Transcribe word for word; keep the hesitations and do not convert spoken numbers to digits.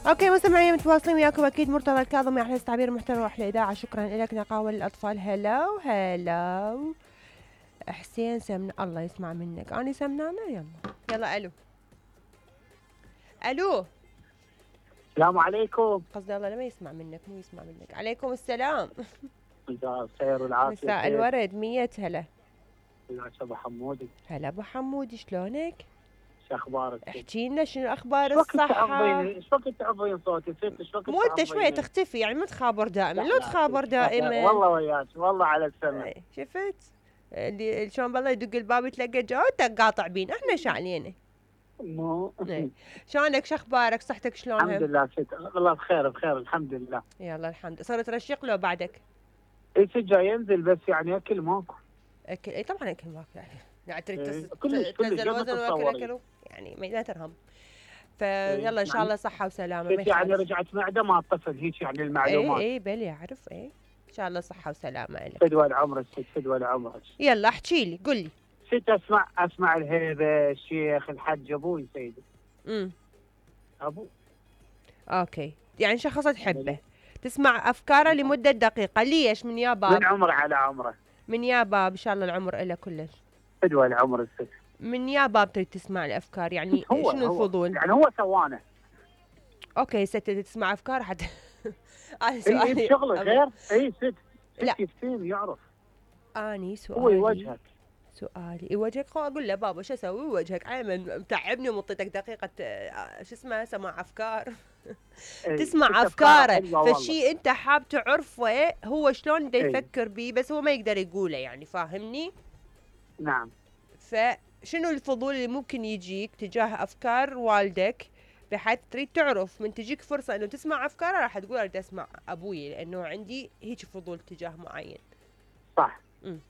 اوكي مستمعين متواصلين وياكم اكيد. مرتضى الكاظمي احلى تعبير محتوى واحلى اذاعه. شكرا لك. نقاوه للاطفال. هلو هلو حسين سمن. الله يسمع منك. انا سمنانه. يلا يلا. الو الو السلام عليكم. قصدي الله لما يسمع منك مو يسمع منك. عليكم السلام. مساء الخير والعافيه. مساء الورد. مية هلا. هلا ابو حمودي. هلا ابو حمودي شلونك؟ شو اخبارك؟ احكي لنا شنو اخبار الصحة؟ ايش وقت تعبين صوتي؟ ايش وقت مو انت شوية تختفي يعني ما تخابر دائما. لو تخابر دائما والله وياك والله على السمع. شفت اللي شلون بالله يدق الباب يتلقى جوتك قاطع بين. احنا شعلينا مو شلونك؟ شو اخبارك؟ صحتك شلونها؟ الحمد لله ست والله بخير بخير الحمد لله. يلا الحمد. صرت ترشق له بعدك؟ اي جاي ينزل بس يعني اكل ماكو. اكل اي طبعا اكل ماكو يعني يعني تريد إيه. تنزل وزن واكل اكل يعني ما ترهم. فيلا ان شاء الله صحه وسلامه. بس يعني رجعت معده ما الطفل هيك يعني المعلومات. اي اي بلي اعرف. اي ان شاء الله صحه وسلامه لك. فدوى العمر ست فدوى العمر. يلا احكي لي قل لي. ست اسمع اسمع الهيبه الشيخ الحج ابوي سيدي. امم ابو اوكي يعني شخص تحبه تسمع افكاره لمده دقيقه. ليش؟ من يا باب من عمره على عمره. من يا باب ان شاء الله العمر له كلش. فدوى العمر الست. من يا باب تريد تسمع الافكار يعني هو شنو هو الفضول؟ يعني هو سوانه. اوكي ست تسمع افكار حتى انا سؤالي اي بشغله غير. اي ست لا كثير يعرف. اني سؤالي هو يوجهك. سؤالي يوجهك. خو اقول له بابا شو اسوي؟ يوجهك عيما متعبني ومنطيتك دقيقه شو اسمه سماع افكار. تسمع افكاره فالشيء انت حاب تعرفه هو شلون بده يفكر بيه بس هو ما يقدر يقوله يعني. فاهمني؟ نعم. فشنو الفضول اللي ممكن يجيك تجاه افكار والدك بحيث تريد تعرف من تجيك فرصه انه تسمع افكاره راح تقول اريد اسمع ابوي لانه عندي هيك فضول تجاه معين. صح. امم